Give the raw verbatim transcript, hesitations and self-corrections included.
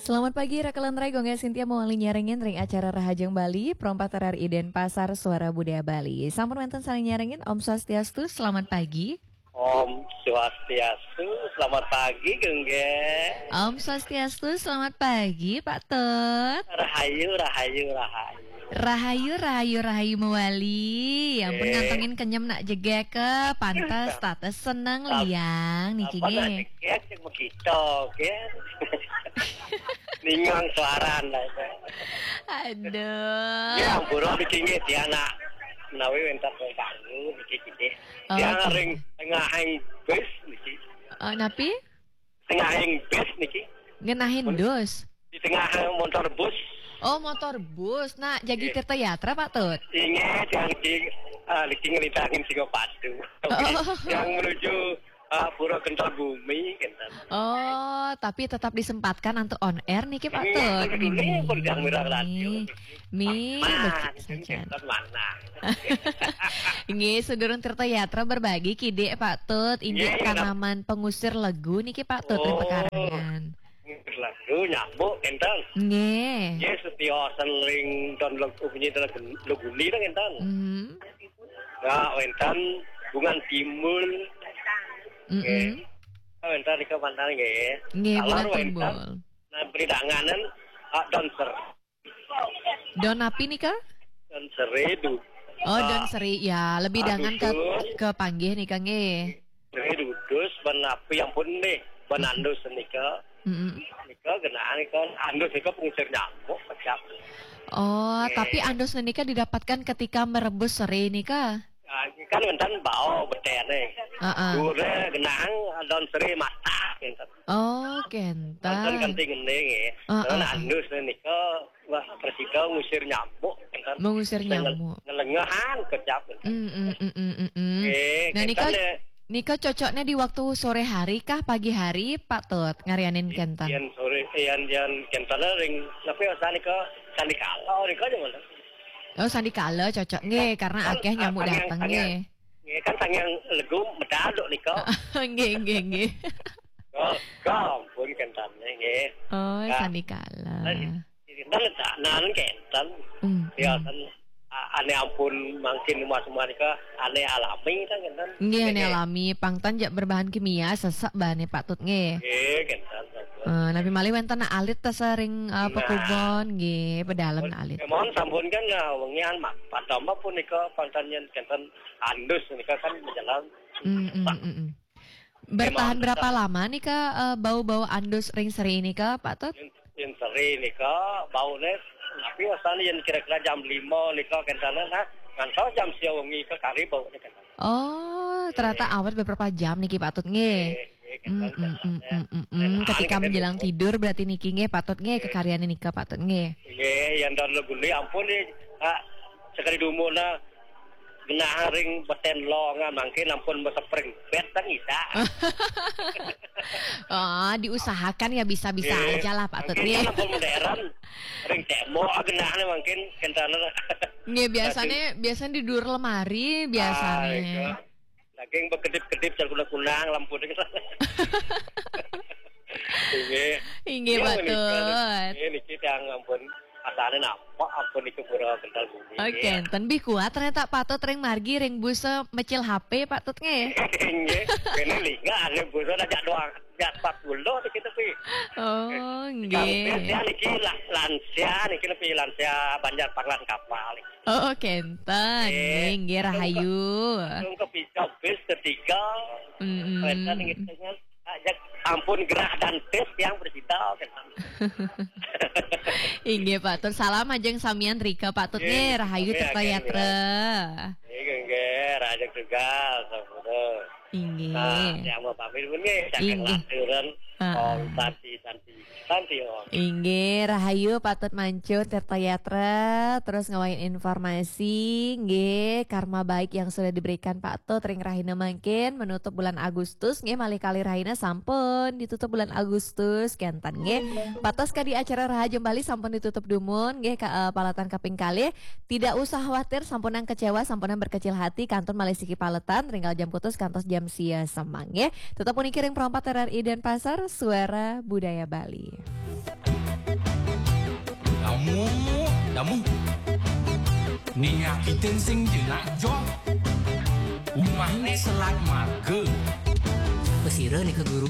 Selamat pagi, Raka Lentrai, Gongga Sintia mawali nyarengin ring acara Rahajeng Bali, Pro empat R R I Denpasar, Suara Budaya Bali. Sampun wénten sané nyarengin, Om Swastiastu, selamat pagi. Om Swastiastu, selamat pagi, Gongga. Om Swastiastu, selamat pagi, Pak Tut. Rahayu, rahayu, rahayu. Rahayu, rahayu, rahayu mawali. Ya ampun, eh, ngantongin kenyem nak jegek ke pantes, tates seneng, liang niki nggih. Jegek, cek begitu, kan? Ningang suaran lah. Aduh. Ya, ampura niki nggih, tiang nak menawi wénten kaganggu niki, nggih. Oh, tiang ring tengahing bis niki. Oh, napi? Tengahing bis niki. Ngenahin dus? Di tengah montor bus. Oh, motor bus. Nah, jagi Tirta Yatra, Pak Tut? Inggih, yang di, ah, niki ngelintangin Singapadu. Oh. Yang menuju, ah, Pura Kental Bumi, kan. Oh, tapi tetap disempatkan untuk on air niki, Pak Tut. Ini pun yang mirang radio. Mi, mana? Nggih, sedurung Tirta Yatra berbagi kidik, Pak Tut. Inggih, tanaman pengusir legu niki, Pak Tut, ring pekarangan. Pengusir legu nyambuk, enten. Nggih. Nggih, setiosan ring don legu, bunyi don legu, legu ni dong, enten. Mhm. Ya, wénten Bungan Timbul. Mm-mm. Nggih. Wénten nika mantan nggih. Nggih, Bungan Timbul. Nah, beri danganan, ah, don ser. Don api nika? Don seri du. Oh, don seri. Ya, lebih dangan ke, ke panggih nika nggih. Seri dudus, ban api ampun nih, ban andus nika. Mm-mm. Nika genaan nika, andus nika pengusir nyamuk, kecap. Oh, tapi andus nika didapatkan ketika merebus seri nika? Ah, kan wénten bau beténé. Heeh. Dure genang don seri mata, kénten. Oh, kénten. Wénten kanti ngené nggih. Heeh. Terus andus nika, wah, presida ngusir nyamuk, kénten. Mengusir nyamuk. Ngelengehan kecap, kénten. Mm, mm, mm, mm, mm, mm. Nggih, nah, nika, kénten, eh, nika cocoknya di waktu sore hari kah, pagi hari, Pak Tut, ngaryanin kénten? Yén sore, yén, yén kénten ring, tapi asal nika sandikala, nika aja mana? Oh, sandikala cocok nggih, karena akéh nyamuk dateng nggih. Nggih, kan sangyang legu medal dok nika. Nggih, nggih, nggih. Oh, ampun kénten nggih. Oh, sandikala. Nah, kénten, nah, kénten. Hmm. Ya, kan, a-, ané ampun mangkin rumah-rumah nika, ané alami kan, kénten. Nggih, ané alami. Pang tan jak berbahan kimia, sesek bahané Pak Tut nggih. Nggih, kénten. Eh, napi malih wénten alit ta sering, eh, pekubon, nggih, pedalem alit. Mohon sampun kan, eh, wengian mak, padama punika pangtan yén kénten andus nika kan menjelang. Mm, mm, mm, mm. Bertahan berapa lama nika, eh, bau-bau andus ring seri nika, Pak Tut? Yén, yén seri nika bauné, tapi asalné yén kira-kira jam lima nika kénten nah, ngantos jam sia wengi nika kari bauné kénten. Oh, ternyata awet beberapa jam niki, Pak Tut nggih. Nggih, nggih, mm, mm, mm, mm, mm, mm. Ketika menjelang tidur berarti niki nggih, Pak Tut nggih, kekaryané nika, Pak Tut nggih. Nggih, yén don legu ni ampun nih, ah, sekali dumun nah, genah ring betén longan mangkin ampun mesepring bet kan isa. Oh, diusahakan ya, bisa-bisa aja lah, Pak Tut nggih. Mangkin ampun modern, ring tembok genahné mangkin kénten. Nggih, biasanya, biasanya di duur lemari, biasanya. Ah, iya. Daging bekedip-kedip, jar kunang-kunang, lampu ding. Inggih. Inggih, Pak Tut. Inggih, niki tiang ampun, asané napa, ampun niku pura kental bumi. Oke, ten lebih kuat ternyata Pak Tut ring margi, ring busa mecil H P, Pak Tut nggih. Inggih. Ini lingga, ané busa ajak doang. Jak empat puluh tuh kita, Pi. Oh, nggih. Tiang niki lah, lansia niki, lebih lansia Banjar Panglan Kapal. Oh, kénten. Nggih, nggih, rahayu. Langsung ke, langsung ke bis ketiga. Mm-mm. Wénten nggih, dengan ajak ampun gerah dan tis tiang presida, kénten. Inggih, Pak Tut. Salam ajeng samian rika, Pak Tut nggih, rahayu, Tirta Yatra. Nggih, nggih, rahayu tugas, sampun. Inggih. Nah, tiang mau pamit pun nggih, saking Laturan, Om Santi, Santi. Santi, Om. Inggih, rahayu Pak Tut Mancun, Tirta Yatra, terus ngawain informasi, nggih, karma baik yang sudah diberikan Pak Tut ring rahina mangkin, menutup bulan Agustus, nggih, malih kalih rahina sampun ditutup bulan Agustus, kénten, nggih. Pak Tut, kadi acara Rahajeng Bali sampun ditutup dumun, nggih, ka, eh, paletan kaping kalih. Tidak usah khawatir, sampunang kecewa, sampunang berkecil hati, kantun malih siki paletan, ring galah jam kutus kantos jam sia semeng, nggih. Tetep puniki ring Pro empat R R I Denpasar, Suara Budaya Bali. Damu, damu. Nia kiten sing jenak jo. Umahne selat marga. Pesira nika guru?